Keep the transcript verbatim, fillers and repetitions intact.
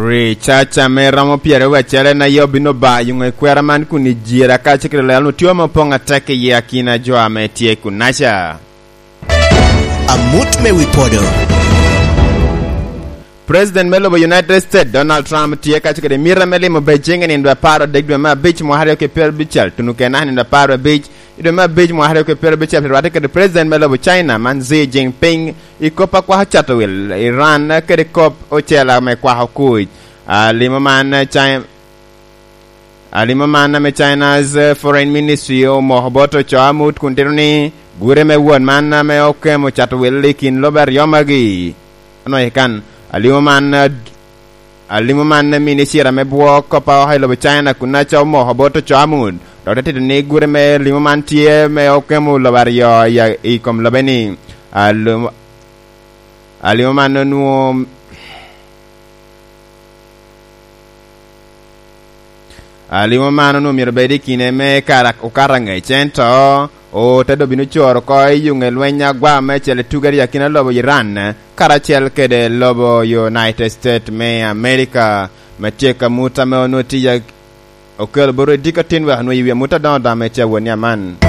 Ri caca me romo pyeraryo acel en aye obino ba yuŋ ekwera man kun i jira kacel kede lel onwoŋo tye ame opoŋ atek i akina jo ame tye kunaca. Amut me wi podo. President me lobo United States, Donald Trump, tye kacel kede mita me limo Beijing i nino apar odek dwe me abic mwaka aryo kede pyerabicel acel, tuno kena i nino apar abic i dwe me abic mwaka aryo kede pyerabicel, pi rwatte kede president me lobo China man Xi Jinping, i kop a kwako cato wil Iran kede kop ocel ame kwako kuc. Alimo man, China, alimo man ame China's, eh, Foreign Ministry omoko bot ocoo amut kun tito ni gure me won man ame okemo cato wil i kin lobo aryo magi. Ano i kan, alimo man, eh, alimo man mini cira me bwo kop a oko i lobo China kun aca omoko bot ocoo amut, dok te tito ni gure me limo man tye me okemo lobo aryo i, i kom lobe ni. Alimo, alimo man onwoŋo Alimo man onwoŋo myero bed i kine me kara okato aŋec, ento ote doŋ bino coro oko i yuŋe lweny agwa meicel i tuge aryo akina lobo Iran karacel kede lobo United States me America, me tyeko amut ame onwoŋo tye okelo bot odiko tin wek onwoŋo i wi amut adoŋo adoŋo me tye awot ni aman.